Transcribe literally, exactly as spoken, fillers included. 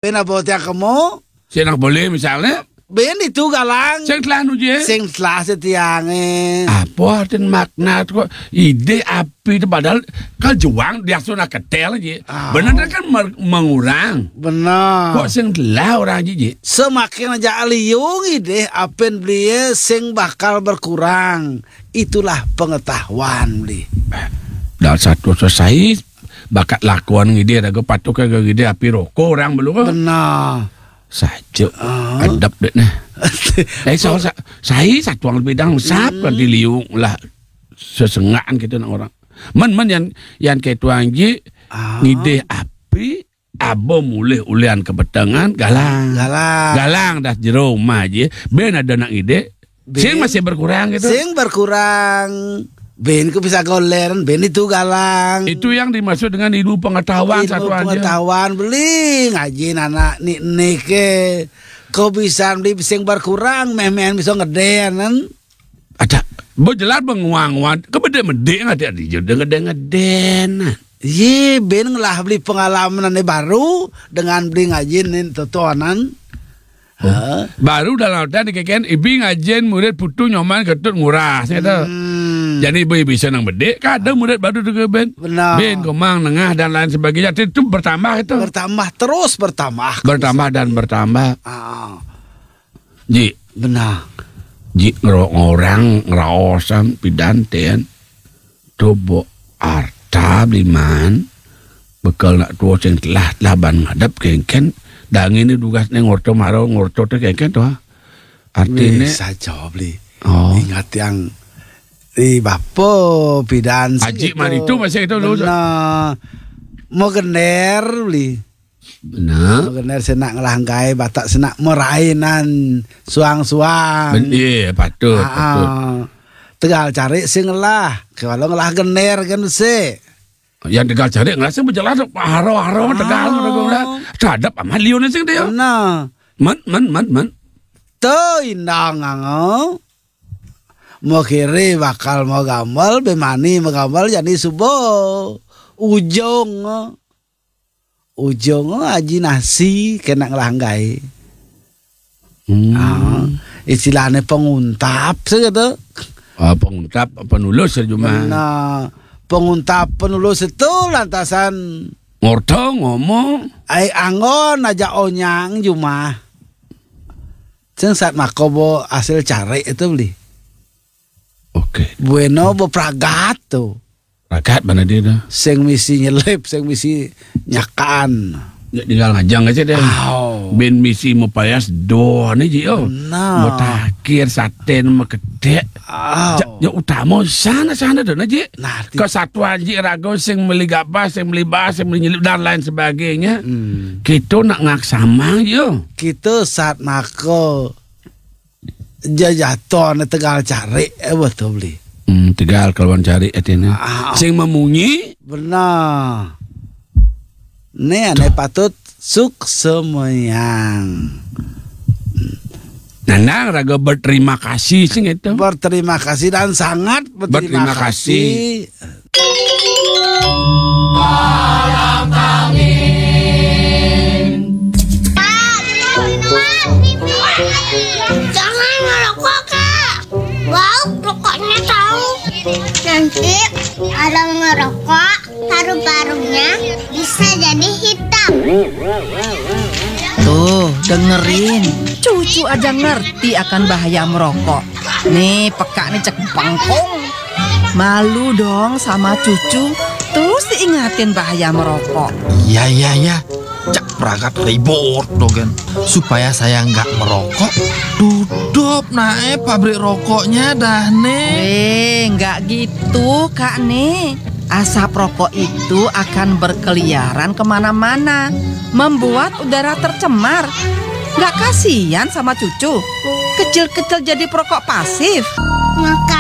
Bén apa tiang kemo? Sing nak boleh misalnya? Bén itu galang. Sing telah nu, Ji? Sing telah setiangé. Apa artin makna kok idih api itu padahal kan juang dia sudah ketel, Ji. Ah. Bener kan mer-, mengurang. Bener. Kok sing telah orang, Ji, Ji? Semakin aja liung idih apin belié sing bakal berkurang. Itulah pengetahuan beli. Dah satu selesai bakat lakuan ngidih raga patuh ke ngidih api roko orang belum. Benar. Saja. Ah. Kedap dek nah. Eh, soal sa-, sai satuang lebih dang sap kan di liung lah sesengaan kita nak orang. Men, men yang, yang ketuang ji. Ah. Ngidih api abo mulih ulian kebetengan galang. Galang. Galang dah jero rumah ji. Bén ada nak ngidih. Sing masih berkurang gitu. Sing berkurang. Bén ku bisa goleran, bén itu galang. Itu yang dimaksud dengan ilmu pengetahuan. Ilmu satuan dia. Pengetahuan beli ngaji anak nik nik ke. Kok bisa beli sing berkurang, meh-meh bisa ngedén, kan? Ada. Bo jelas benguang-nguan. Kebedé-medé ngati adi jodoh ngedén-ngedén. Ye, bén ngelah beli pengalaman ane baru dengan beli ngaji nin totoanan. Oh. Ha? Baru dalam artian dikeken, ibi ngajin murid putu nyoman ketut nguras, gitu. Hmm. Jadi ibu bisa nang bedik, kadang murid baru juga bén. Benar. Bén, komang, nengah, dan lain sebagainya. Itu bertambah itu. Bertambah, terus bertambah. Bertambah dan bertambah. Ah. Ji. Benar. Ji ngero-, ngorang, ngeraosan, pidan, ten. Coba arta beli man, bekal nak tua sing telah, telah ban ngadep kengken, dangin ni dugas neng ngorto maro, ngorto te kengken tu, ha. Artine wis saja beli. Oh. Ingat yang di bapa pidan sing Aji itu. Mari tu masih itu dulu. Benar. Mau gender beli. Benar. Mau gender senak ngelah enggai, batak senak merainan suang-suang. Ben-, iya, patut, ah, patut. Tegal cari sing ngelah, kalau ngelah gender kan se. Yang tegal cari ngelah sing berjalan haro-haro tegal. Oh. Terhadap amat liun sing dia. Benar. Man, man, man, man. Tu indang ngangau. Mau kiri bakal mau gambal, bemani mau gambal jadi subuh. Ujung. Ujung aji nasi kena ngelanggai. Hmm. Ah, istilahnya penguntap sih gitu. Ah, penguntap, penulus saja mah. Benar. Penguntap, penulus itu lantasan ngorto ngomong. Ai anggon aja onyang jumah. Sing saat makobo hasil cari itu beli. Oke. Bueno, bepragat tu. Pragat mana dia tu? Sing misi nyelip, sing misi nyakaan. Ya, tinggal ngajang aja deh. Au. Bin misi mepayas doh ni ji, oh. Benar. Mutakhir saten mekedek. Au. Ja-, ya utama sana, sana tu na ji. Nah, ti- Kesatuan ji raga sing meli gabah, sing meli bah, sing meli nyelip dan lain sebagainya. Hmm. Kita nak ngaksamang ji, oh. Kita saat mako jajatoné tegal cari, eh, betul beli. Hmm, tegal kelawan cari artinya. Ah. Sing memunyi. Benar. Ni ane patut suk semayang. Nanang raga berterima kasih sing itu. Berterima kasih dan sangat berterima kasih. Berterima kasih. Jangan merokok, Kak. Bau rokoknya tahu. Nanti kalau merokok, paru-parunya bisa jadi hitam. Tuh, dengerin. Cucu aja ngerti akan bahaya merokok. Nih, peka nih cek bengkong. Malu dong sama cucu. Terus diingatin bahaya merokok. Iya, iya, iya. Cak pragat ribut dogen. Supaya saya nggak merokok, tutup nae pabrik rokoknya dah, Nek. Eh, nggak gitu, Kak, nih. Asap rokok itu akan berkeliaran kemana-mana, membuat udara tercemar. Nggak kasihan sama cucu? Kecil-kecil jadi perokok pasif. Maka